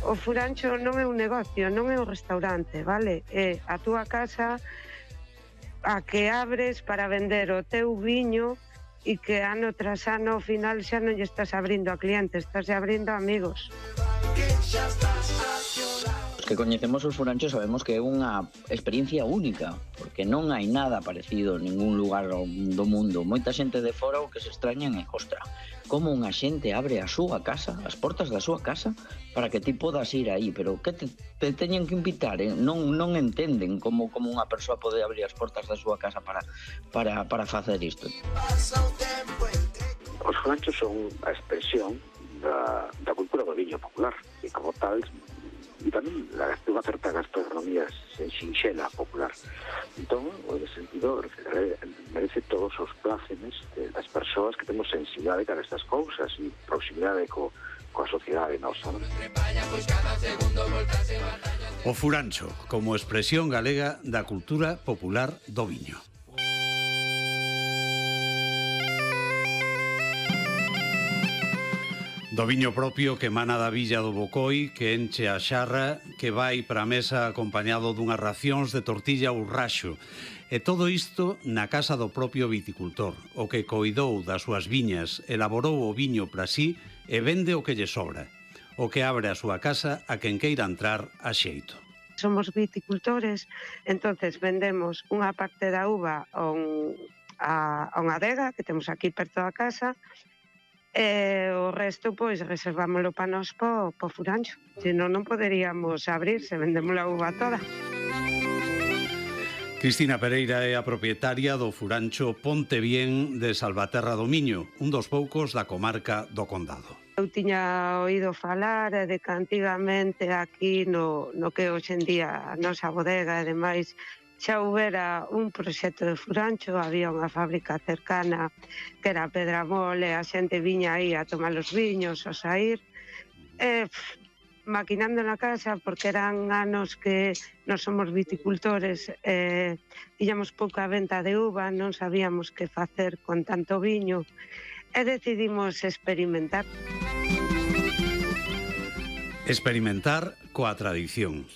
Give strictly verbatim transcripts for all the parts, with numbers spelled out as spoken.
o furancho non é un negocio, non é un restaurante, vale? É a túa casa a que abres para vender o teu viño e que ano tras ano ao final xa non lle estás abrindo a clientes, estás abrindo a amigos. Os que coñecemos os furanchos sabemos que é unha experiencia única, porque non hai nada parecido en ningún lugar do mundo. Moita xente de fora o que se extrañan é, ostra, como unha xente abre a súa casa, as portas da súa casa, para que ti podas ir aí, pero que te, te teñen que invitar, eh? non, non entenden como, como unha persoa pode abrir as portas da súa casa para, para, para facer isto. Os furanchos son a expresión da, da cultura do viño popular, e como tal, e tamén la, unha certa gastronomía sinxela popular. Entón, en ese sentido, merece todos os plácemes das persoas que temos sensibilidade cara a estas cousas e proximidade co, coa sociedade nosa. Non? O furancho, como expresión galega da cultura popular do viño. Do viño propio que emana da villa do Bocoi, que enche a xarra, que vai para a mesa acompañado dunhas racións de tortilla ou raxo. E todo isto na casa do propio viticultor, o que coidou das súas viñas, elaborou o viño para sí e vende o que lle sobra. O que abre a súa casa a quen queira entrar a xeito. Somos viticultores, entonces vendemos unha parte da uva a, un, a, a unha adega que temos aquí perto da casa, e o resto, pois, reservámoslo para nós po, po furancho. Senón non poderíamos abrir se vendemos a uva toda. Cristina Pereira é a propietaria do furancho Ponte Bien de Salvaterra do Miño, un dos poucos da comarca do Condado. Eu tiña oído falar de que antigamente aquí no, no que hoxe en día a nosa bodega e demais xa houbera un proxecto de furancho, había unha fábrica cercana que era Pedramole, a xente viña aí a tomar os viños, a sair, e pff, maquinando na casa, porque eran anos que nós somos viticultores, e tiñamos pouca venta de uva, non sabíamos que facer con tanto viño, e decidimos experimentar. Experimentar coa tradición.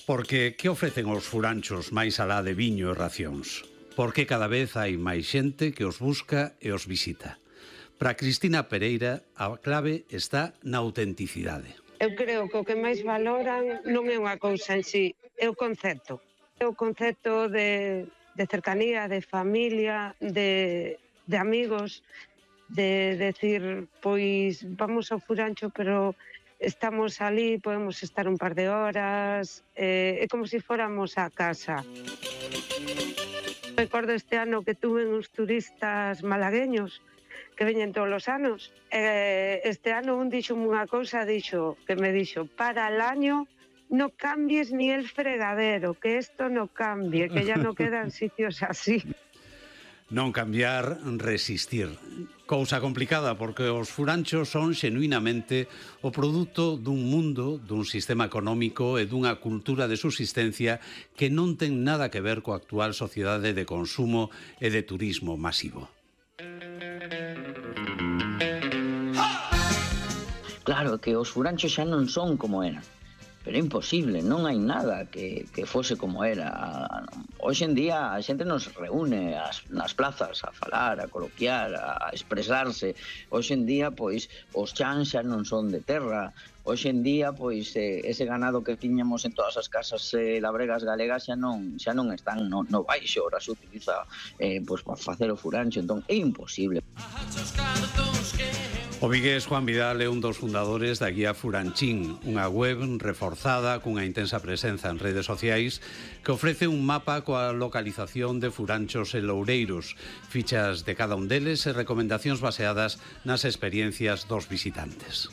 Porque que ofrecen os furanchos máis alá de viño e racións? Porque cada vez hai máis xente que os busca e os visita. Para Cristina Pereira, a clave está na autenticidade. Eu creo que o que máis valoran non é unha cousa en sí, é o concepto. É o concepto de, de cercanía, de familia, de, de amigos, de decir, pois vamos ao furancho, pero estamos ali, podemos estar un par de horas, eh, é como se fóramos a casa. Recordo este ano que tuve uns turistas malagueños que veñen todos os anos. Eh, este ano un dixo unha cousa, dixo, que me dixo, para el año no cambies ni el fregadero, que esto no cambie, que ya no quedan sitios así. Non cambiar, resistir. Cousa complicada, porque os furanchos son xenuinamente o produto dun mundo, dun sistema económico e dunha cultura de subsistencia que non ten nada que ver coa actual sociedade de consumo e de turismo masivo. Claro, que os furanchos xa non son como eran. Pero é imposible, non hai nada que, que fose como era. Hoxe en día a xente nos reúne as, nas plazas a falar, a coloquiar, a expresarse. Hoxe en día, pois, os chans xa non son de terra. Hoxe en día, pois, eh, ese ganado que tiñamos en todas as casas eh, labregas galegas xa non, xa non están no, no baixo, ora se utiliza eh, pois, para facer o furancho, entón é imposible. O vigués Juan Vidal é un dos fundadores da guía Furanchín, unha web reforzada cunha intensa presenza en redes sociais que ofrece un mapa coa localización de furanchos e loureiros, fichas de cada un deles e recomendacións baseadas nas experiencias dos visitantes.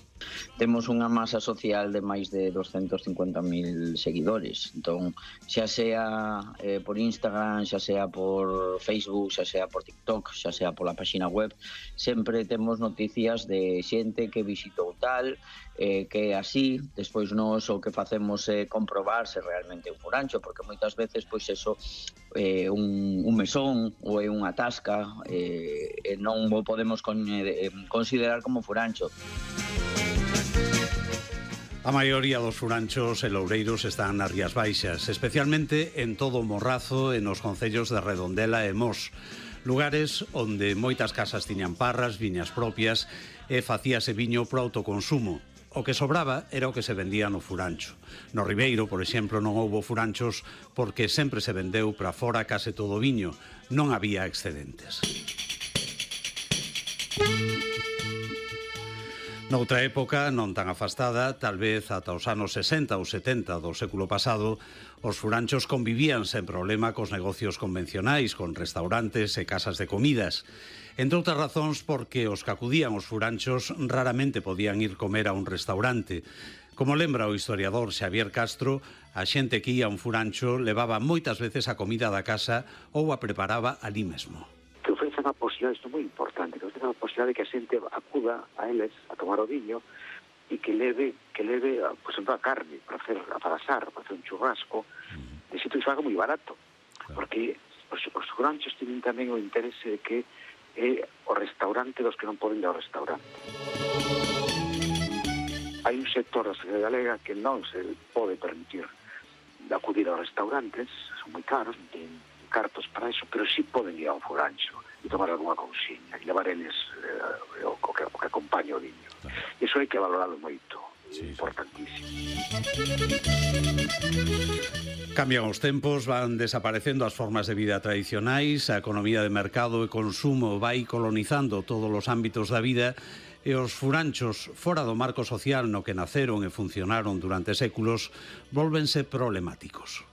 Temos unha masa social de máis de doscientos cincuenta mil seguidores, entón xa sea eh, por Instagram, xa sea por Facebook, xa sea por TikTok, xa sea pola página web, sempre temos noticias de xente que visitou tal, eh, que así, despois nós o que facemos é comprobar se realmente é un furancho, porque moitas veces pois eso é eh, un, un mesón ou é unha tasca, eh, e non o podemos con, eh, considerar como furancho. A maioría dos furanchos e loureiros están nas Rías Baixas, especialmente en todo o Morrazo e nos concellos de Redondela e Mos, lugares onde moitas casas tiñan parras, viñas propias e facíase viño para autoconsumo. O que sobraba era o que se vendía no furancho. No Ribeiro, por exemplo, non houbo furanchos porque sempre se vendeu para fora case todo o viño. Non había excedentes. Noutra época, non tan afastada, tal vez ata os anos sesenta ou setenta do século pasado, os furanchos convivían sen problema cos negocios convencionais, con restaurantes e casas de comidas. Entre outras razóns porque os que acudían aos furanchos raramente podían ir comer a un restaurante. Como lembra o historiador Xavier Castro, a xente que ia a un furancho levaba moitas veces a comida da casa ou a preparaba ali mesmo. Que ofrecen a posibilidade, isto é moi importante, que ofrecen a posibilidade de que a xente acuda a eles a tomar o viño e que leve, que leve por exemplo, a carne para hacer, para asar, para hacer un churrasco, de xito que se faga moi barato, porque os, os furanchos tienen tamén o interese de que é o restaurante dos que non poden ir ao restaurante. Hai un sector da sociedade galega que non se pode permitir de acudir aos restaurantes, son moi caros, non teñen cartos para eso, pero sí poden ir ao furancho e tomar alguna cousiña e levar eles eh, o, que, o que acompaña o viño. Claro. Iso hai que valorarlo moito, sí, importantísimo. Cambian os tempos, van desaparecendo as formas de vida tradicionais, a economía de mercado e consumo vai colonizando todos os ámbitos da vida e os furanchos, fora do marco social no que naceron e funcionaron durante séculos, volvense problemáticos.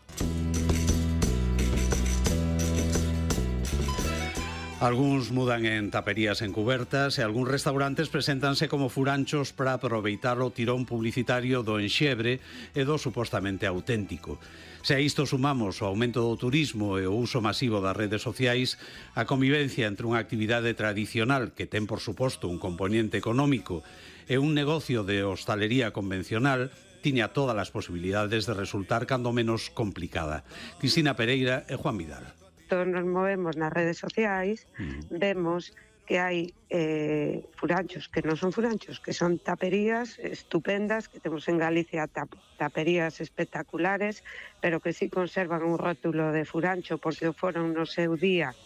Algúns mudan en taperías encubertas e algúns restaurantes preséntanse como furanchos para aproveitar o tirón publicitario do enxebre e do supostamente auténtico. Se a isto sumamos o aumento do turismo e o uso masivo das redes sociais, a convivencia entre unha actividade tradicional que ten, por suposto, un componente económico e un negocio de hostalería convencional tiña todas as posibilidades de resultar cando menos complicada. Cristina Pereira e Juan Vidal. Todos nos movemos nas redes sociais, mm. vemos que hai eh, furanchos que non son furanchos, que son taperías estupendas, que temos en Galicia tap taperías espectaculares, pero que sí conservan un rótulo de furancho porque o foron no seu día.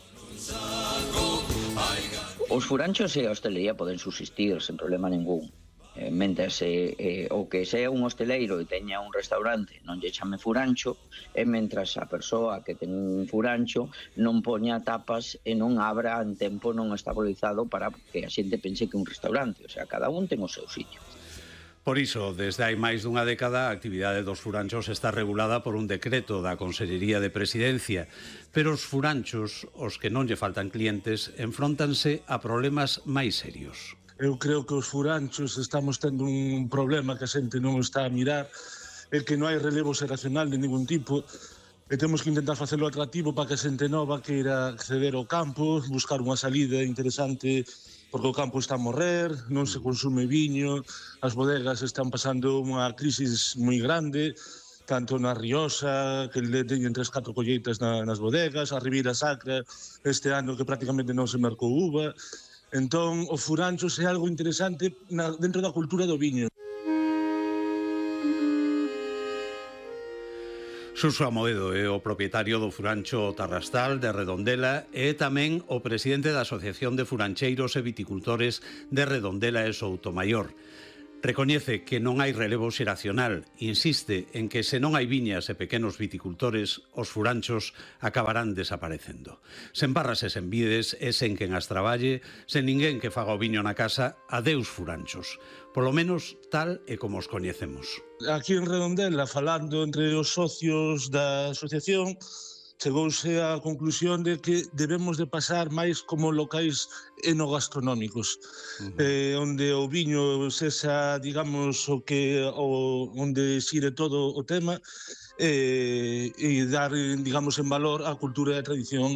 Os furanchos e a hostelería poden subsistir sen problema ningún. Eh, mentres eh, eh, o que sea un hosteleiro e teña un restaurante non lle chame furancho, e mentras a persoa que ten un furancho non poña tapas e non abra en tempo non estabilizado para que a xente pense que é un restaurante. O sea, cada un ten o seu sitio. Por iso, desde hai máis dunha década, a actividade dos furanchos está regulada por un decreto da Consellería de Presidencia, pero os furanchos, os que non lle faltan clientes, enfróntanse a problemas máis serios. Eu creo que os furanchos estamos tendo un problema que a xente non está a mirar, é que non hai relevo xeracional de ningún tipo, e temos que intentar facelo atractivo para que a xente nova queira acceder ao campo, buscar unha salida interesante, porque o campo está a morrer, non se consume viño, as bodegas están pasando unha crisis moi grande, tanto na Rioxa, que le teñen tres, catro colleitas na, nas bodegas, a Ribeira Sacra, este ano que prácticamente non se mercou uva. Entón, o furanchos é algo interesante na, dentro da cultura do viño. Suso Amoedo é o propietario do furancho Tarrastal de Redondela e tamén o presidente da Asociación de Furancheiros e Viticultores de Redondela e Soutomaior. Recoñece que non hai relevo xeracional, insiste en que se non hai viñas e pequenos viticultores, os furanchos acabarán desaparecendo. Sen barras e sen vides, e sen quen as traballe, sen ninguén que faga o viño na casa, adeus furanchos. Polo menos tal e como os coñecemos. Aquí en Redondela, falando entre os socios da asociación, chegouse á conclusión de que debemos de pasar máis como locais enogastronómicos, uh-huh. eh, onde o viño sexa, digamos, o que o, onde xire todo o tema eh, e dar, digamos, en valor a cultura e a tradición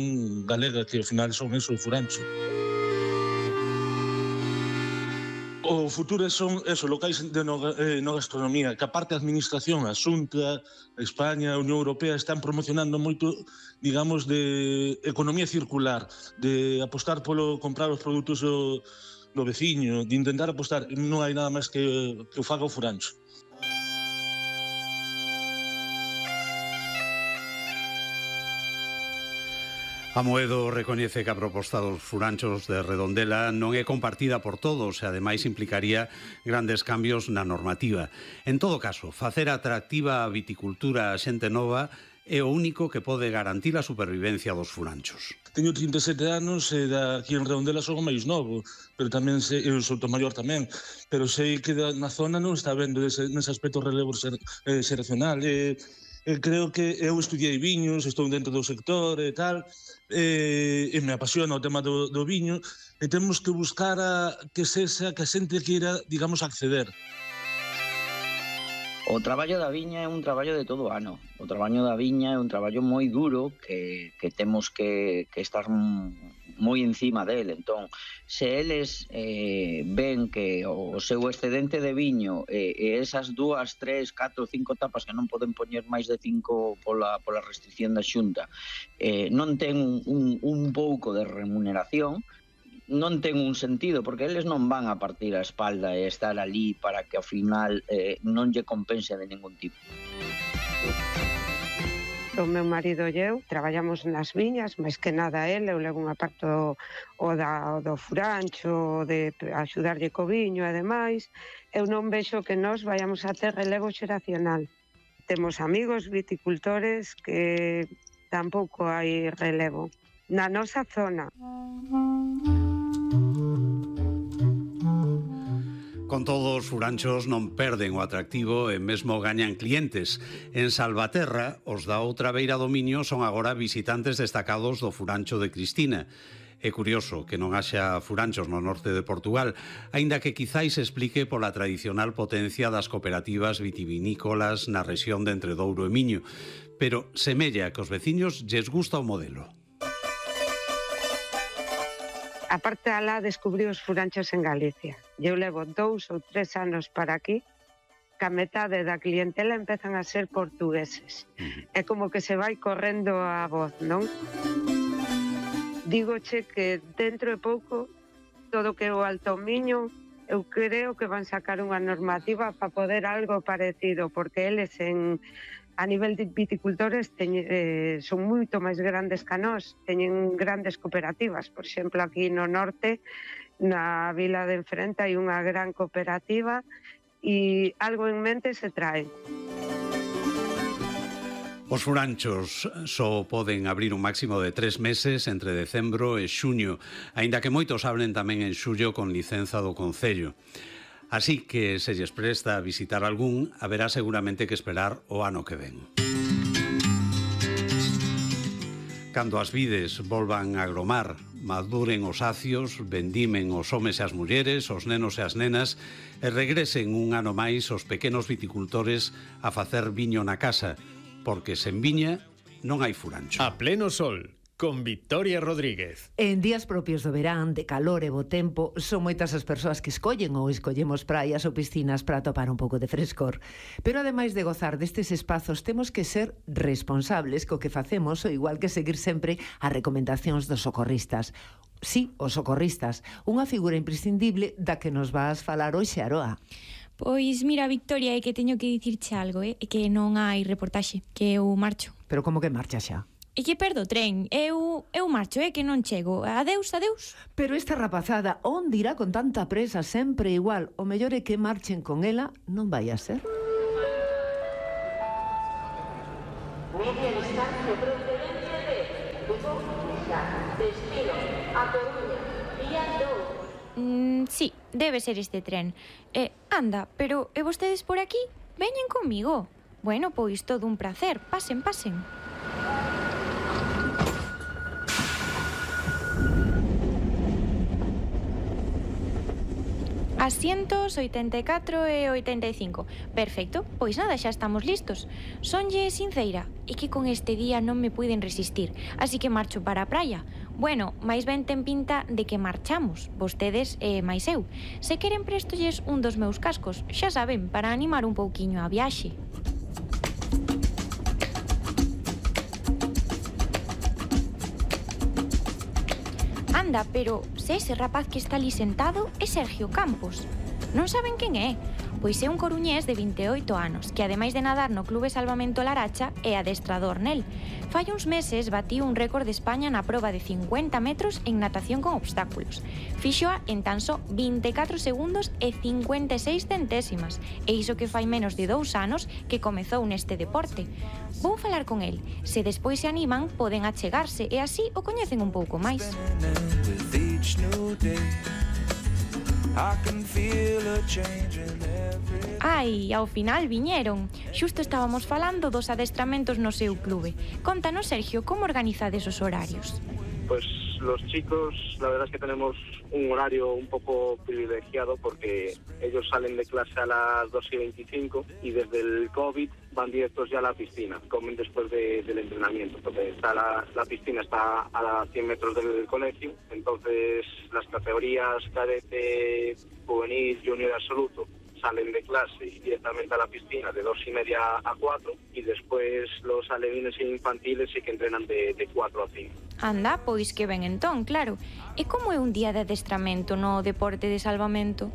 galega, que ao final son eso, o furancho. O futuro son eso, locais de enogastronomía, que aparte a administración, a Xunta, a España, a Unión Europea están promocionando moito, digamos, de economía circular, de apostar polo comprar os produtos do, do veciño, de intentar apostar, non hai nada máis que, que o faga o furancho. Amoedo recoñece que a proposta dos furanchos de Redondela non é compartida por todos e ademais implicaría grandes cambios na normativa. En todo caso, facer atractiva a viticultura a xente nova é o único que pode garantir a supervivencia dos furanchos. Teño trinta e sete anos e aquí en Redondela son o máis novo, pero tamén sei, eu sou o maior tamén, pero sei que na zona non está vendo ese, nese aspecto relevo ser, eh, xeracional. E, e creo que eu estudiei viños, estou dentro do sector e tal, e, e me apasiona o tema do, do viño, e temos que buscar a, que sexa que a xente queira, digamos, acceder. O traballo da viña é un traballo de todo o ano. O traballo da viña é un traballo moi duro que, que temos que, que estar moi encima del. Entón, se eles eh, ven que o seu excedente de viño e eh, esas dúas, tres, catro, cinco tapas que non poden poñer máis de cinco pola, pola restricción da Xunta eh, non ten un, un, un pouco de remuneración, non ten un sentido, porque eles non van a partir a espalda e estar ali para que ao final eh, non lle compense de ningún tipo. O meu marido e eu traballamos nas viñas, máis que nada ele, eu levo unha parte o, o, da, o do furancho, de axudarlle co viño e demais. Eu non vexo que nós vayamos a ter relevo xeracional. Temos amigos viticultores que tampouco hai relevo. Na nosa zona. Con todo, os furanchos non perden o atractivo e mesmo gañan clientes. En Salvaterra, os da outra beira do Miño son agora visitantes destacados do furancho de Cristina. É curioso que non haxa furanchos no norte de Portugal, aínda que quizáis explique pola tradicional potencia das cooperativas vitivinícolas na rexión de Entre Douro e Miño. Pero semella que os veciños lles gusta o modelo. A parte alá descubrí os furanchos en Galicia. Eu levo dous ou tres anos para aquí, que a metade da clientela empezan a ser portugueses. É como que se vai correndo a voz, non? Dígoche que dentro de pouco, todo que é o Alto Miño, eu creo que van sacar unha normativa para poder algo parecido, porque eles en... a nivel de viticultores teñen, eh, son moito máis grandes que nós, teñen grandes cooperativas. Por exemplo, aquí no norte, na vila de enfrente, hai unha gran cooperativa e algo en mente se trae. Os furanchos só poden abrir un máximo de tres meses entre decembro e xuño, aínda que moitos abren tamén en xullo con licenza do Concello. Así que, se lles presta a visitar algún, haberá seguramente que esperar o ano que ven. Cando as vides volvan a agromar, maduren os acios, vendimen os homes e as mulleres, os nenos e as nenas, e regresen un ano máis os pequenos viticultores a facer viño na casa, porque sen viña non hai furancho. A pleno sol, con Victoria Rodríguez. En días propios do verán, de calor e bo tempo, son moitas as persoas que escollen ou escollemos praias ou piscinas para topar un pouco de frescor. Pero ademais de gozar destes espazos, temos que ser responsables co que facemos, ou igual que seguir sempre as recomendacións dos socorristas. Sí, os socorristas, unha figura imprescindible da que nos vas falar hoxe, Aroa. Pois mira, Victoria, é que teño que dicirche algo, eh? É que non hai reportaxe, que eu marcho. Pero como que marcha xa? E que perdo o tren, eu, eu marcho, é que non chego. Adeus, adeus. Pero esta rapazada, onde irá con tanta presa sempre igual? O mellor é que marchen con ela, non vai a ser. Media distancia procedente de Lugo, destino a Coruña, día dous. Mm, sí, debe ser este tren. Eh, anda, pero e vostedes por aquí? Veñen comigo. Bueno, pois todo un placer. Pasen, pasen. Asientos oitenta e catro e oitenta e cinco. Perfecto, pois nada, xa estamos listos. Sonlle sinceira, e que con este día non me puiden resistir, así que marcho para a praia. Bueno, máis ben ten pinta de que marchamos, vostedes e máis eu. Se queren prestolles un dos meus cascos, xa saben, para animar un pouquiño a viaxe. Anda, pero se ese rapaz que está ali sentado é Sergio Campos. Non saben quen é? Pois é un coruñés de vinte e oito anos, que ademais de nadar no Clube Salvamento Laracha, é adestrador nel. Fai uns meses batiu un récord de España na proba de cincuenta metros en natación con obstáculos. Fíxoa en tan só vinte e catro segundos e cincuenta e seis centésimas, e iso que fai menos de dous anos que comezou neste deporte. Vou falar con el. Se despois se animan, poden achegarse e así o coñecen un pouco máis. Ai, ao final viñeron. Xusto estábamos falando dos adestramentos no seu clube. Contanos, Sergio, como organizades os horarios? Pues los chicos, la verdad es que tenemos un horario un poco privilegiado porque ellos salen de clase a las dos y veinticinco y desde el COVID van directos ya a la piscina, comen después de, del entrenamiento, porque está la, la piscina está a cien metros del colegio, entonces las categorías cadete, juvenil, junior absoluto salen de clase y directamente a la piscina de dos y media a cuatro y después los alevines e infantiles sí que entrenan de, de cuatro a cinco. Anda, pois que ben entón, claro. E como é un día de adestramento no deporte de salvamento?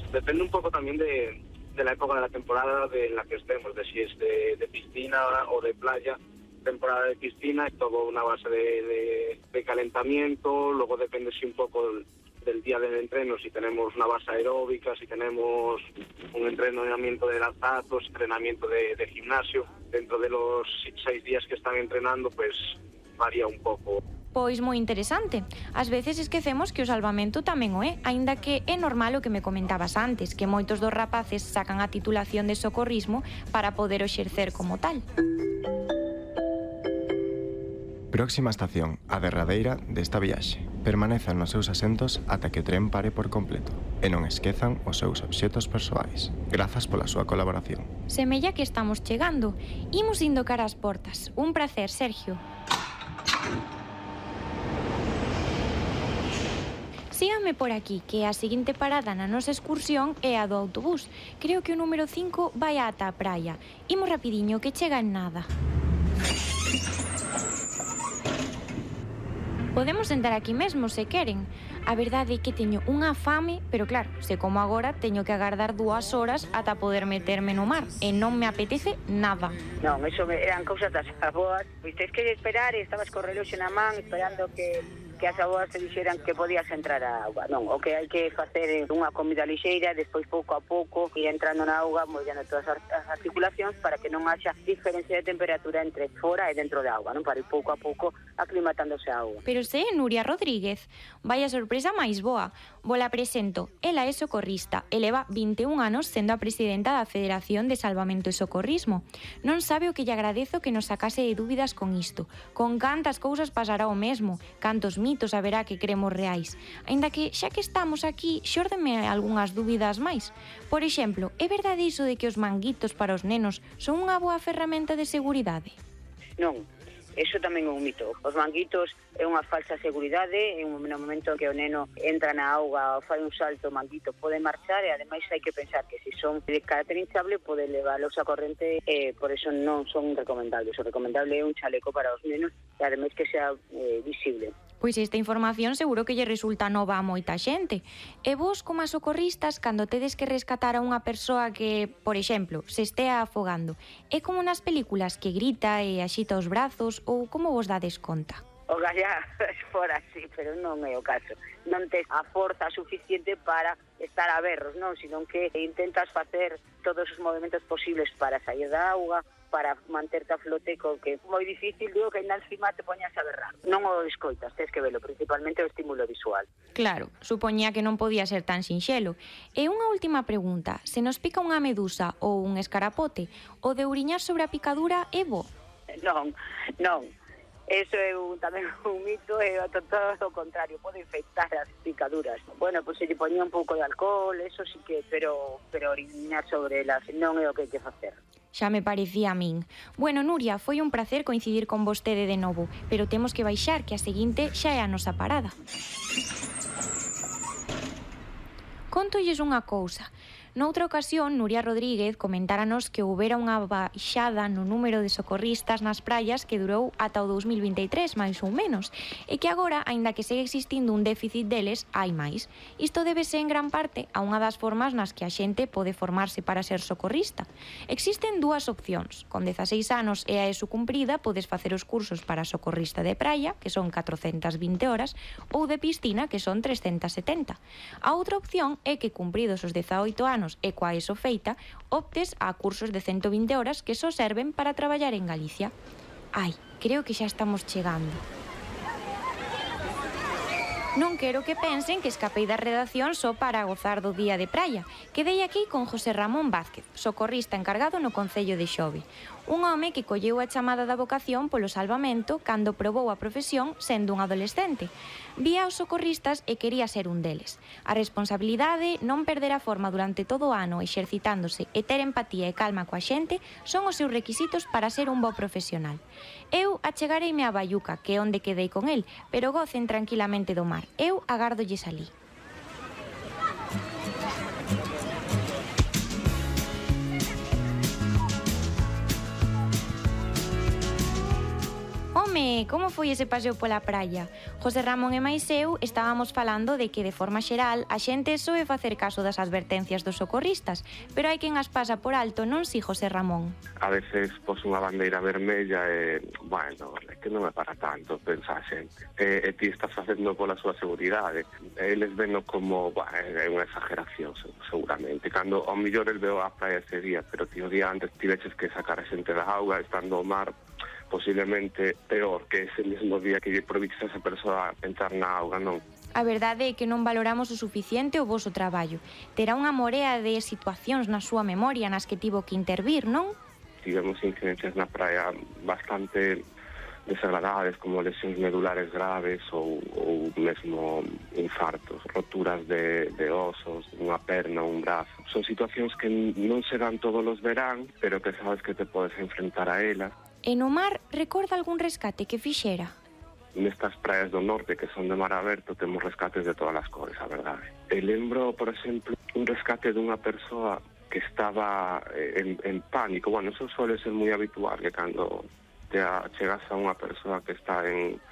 Depende un poco también de, de la época de la temporada de la que estemos, de si es de, de piscina o de playa. Temporada de piscina es todo una base de, de, de calentamiento, luego depende si un poco el, del día del entreno, si tenemos una base aeróbica, si tenemos un entrenamiento de lanzados, entrenamiento de, de gimnasio. Dentro de los seis días que están entrenando, pues varía un pouco. Pois moi interesante. Ás veces esquecemos que o salvamento tamén o é, aínda que é normal o que me comentabas antes, que moitos dos rapaces sacan a titulación de socorrismo para poder o exercer como tal. Próxima estación, a derradeira desta viaxe. Permanezan nos seus asentos ata que o tren pare por completo e non esquezan os seus obxetos persoais. Grazas pola súa colaboración. Semella que estamos chegando. Imos indo cara ás portas. Un prazer, Sergio. Síganme por aquí, que a seguinte parada na nosa excursión é a do autobús. Creo que o número cinco vai ata a praia. Imos rapidiño, que chega en nada. Podemos sentar aquí mesmo, se queren. A verdade é que teño unha fame, pero claro, se como agora, teño que agardar dúas horas ata poder meterme no mar, e non me apetece nada. Non, eso me, eran cousas das aboas. Pois tens que esperar e estabas co reloxo na man esperando que que as aboas te dixeran que podías entrar á auga. Non, o que hai que facer é unha comida lixeira, despois pouco a pouco ir entrando na auga, mollando todas as articulacións para que non haxa diferencia de temperatura entre fora e dentro da auga, non? Para ir pouco a pouco aclimatándose a auga. Pero se é Nuria Rodríguez, vaya sorpresa máis boa. Vola presento, ela é socorrista e leva vinte e un anos sendo a presidenta da Federación de Salvamento e Socorrismo. Non sabe o que lle agradezo que nos sacase de dúbidas con isto. Con cantas cousas pasará o mesmo, cantos mitos haberá que cremos reais. Aínda que, xa que estamos aquí, xórdeme algunhas dúbidas máis. Por exemplo, é verdade iso de que os manguitos para os nenos son unha boa ferramenta de seguridade? Non. Eso tamén é un mito. Os manguitos é unha falsa seguridade, en un momento que o neno entra na auga ou fai un salto, o manguito pode marchar e ademais hai que pensar que se son de carácter hinchable pode leválos a corrente e por eso non son recomendables. O recomendable é un chaleco para os nenos e ademais que sea eh, visible. Pois esta información seguro que lle resulta nova a moita xente. E vos, como a socorristas, cando tedes que rescatar a unha persoa que, por exemplo, se estea afogando, é como nas películas que grita e axita os brazos ou como vos dades conta? O gallá fora así, pero non é o caso. Non tes a forza suficiente para estar a berros, non? Sino que intentas facer todos os movimentos posibles para sair da auga, para manterte a flote, co que é moi difícil, digo que ainda encima te poñas a berrar. Non o escoitas, tens que velo, principalmente o estímulo visual. Claro, supoñía que non podía ser tan sinxelo. E unha última pregunta, se nos pica unha medusa ou un escarapote, o de uriñar sobre a picadura é bo? Non, non. Eso é un, tamén un mito e todo o contrario, pode infectar as picaduras. Bueno, pois se lle poñía un pouco de alcohol, eso sí que, pero pero oriñar sobre elas non é o que hai que facer. Xa me parecía a min. Bueno, Nuria, foi un placer coincidir con vostede de novo, pero temos que baixar, que a seguinte xa é a nosa parada. Contolles unha cousa. Noutra ocasión, Nuria Rodríguez comentáranos que houbera unha baixada no número de socorristas nas praias que durou ata o dous mil vinte e tres, máis ou menos, e que agora, aínda que segue existindo un déficit deles, hai máis. Isto débese en gran parte a unha das formas nas que a xente pode formarse para ser socorrista. Existen dúas opcións. Con dezaseis anos e a ESO cumprida, podes facer os cursos para socorrista de praia, que son catrocentas vinte horas, ou de piscina, que son trescentas setenta. A outra opción é que, cumpridos os dezaoito anos e coa ESO feita, optes a cursos de ciento vinte horas que só serven para traballar en Galicia. Ai, creo que xa estamos chegando. Non quero que pensen que escapei da redacción só para gozar do día de praia. Quedei aquí con José Ramón Vázquez, socorrista encargado no Concello de Xove. Un home que colleu a chamada da vocación polo salvamento cando probou a profesión sendo un adolescente. Vía os socorristas e quería ser un deles. A responsabilidade, non perder a forma durante todo o ano exercitándose e ter empatía e calma coa xente son os seus requisitos para ser un bo profesional. Eu achegareime a Baiuca, que é onde quedei con el, pero gocen tranquilamente do mar. Eu agardolles alí. Home, como foi ese paseo pola praia? José Ramón e máis eu estábamos falando de que, de forma xeral, a xente soe facer caso das advertencias dos socorristas, pero hai quen as pasa por alto, non si, José Ramón? A veces pos unha bandeira vermella e, bueno, é que non é para tanto, pensa a xente. E, e ti estás facendo pola súa seguridade. Eles veno como, bueno, é unha exageración, seguramente. Cando, ao millor, el veo a praia ese día, pero ti o día antes tiveches que sacar a xente da auga, estando ao mar, posiblemente peor que ese mesmo día que lle proviches a esa persoa a pensar na auga, non? A verdade é que non valoramos o suficiente o voso traballo. Terá unha morea de situacións na súa memoria nas que tivo que intervir, non? Tivemos incidencias na praia bastante desagradables, como lesións medulares graves ou, ou mesmo infartos, roturas de, de osos, unha perna, un brazo. Son situacións que non se dan todos os verán, pero que sabes que te podes enfrentar a elas. E no mar, recorda algún rescate que fixera? Nestas praias do norte, que son de mar aberto, temos rescates de todas as cores, a verdade. E lembro, por exemplo, un rescate dunha persoa que estaba en, en pánico. Bueno, eso suele ser moi habitual, que cando te chegas a unha persoa que está en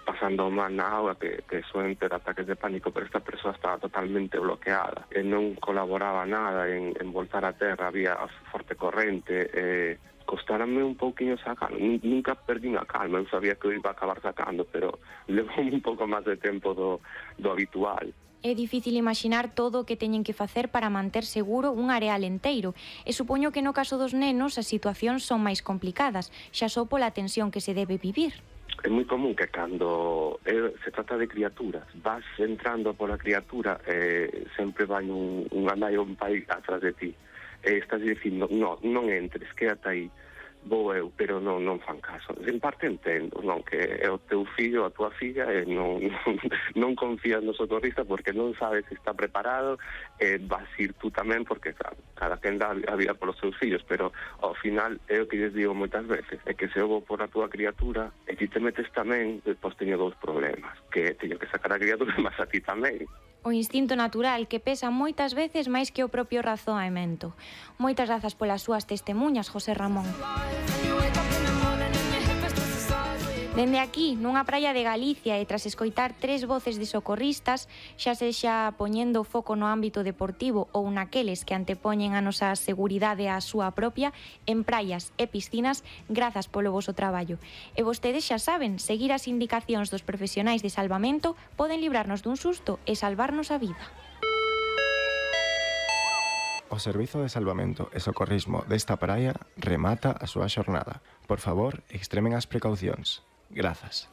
pasando mal na auga, que, que suelen ter ataques de pánico, pero esta persoa estaba totalmente bloqueada e non colaboraba nada en, en voltar a terra, había forte corrente, e costárame un pouquinho sacar. Nunca perdín a calma, eu sabía que eu iba a acabar sacando, pero levou un pouco máis de tempo do, do habitual. É difícil imaginar todo o que teñen que facer para manter seguro un areal enteiro, e supoño que no caso dos nenos as situacións son máis complicadas, xa só pola tensión que se debe vivir. É moi común que cando eh, se trata de criaturas, vas entrando pola criatura e eh, sempre vai un, un nai ou un pai atrás de ti. E estás dicindo, no, non entres, quédate aí, vou eu, pero non, non fan caso. En parte entendo, non, que é o teu fillo, a tua filla, e non, non, non confías no socorrista porque non sabes se está preparado, e vas ir tú tamén porque, claro, cada quen dá a vida polos seus fillos, pero ao final é o que lles digo moitas veces, é que se eu vou por a tua criatura e ti te metes tamén, depois teño dous problemas, que teño que sacar a criatura, mas a ti tamén. O instinto natural que pesa moitas veces máis que o propio razoamento. Moitas grazas polas súas testemunhas, José Ramón. Dende aquí, nunha praia de Galicia e tras escoitar tres voces de socorristas, xa sexa poñendo o foco no ámbito deportivo ou naqueles que antepoñen a nosa seguridade á súa propia, en praias e piscinas, grazas polo voso traballo. E vostedes xa saben, seguir as indicacións dos profesionais de salvamento poden librarnos dun susto e salvarnos a vida. O Servizo de Salvamento e Socorrismo desta praia remata a súa xornada. Por favor, extremen as precaucións. Grazas.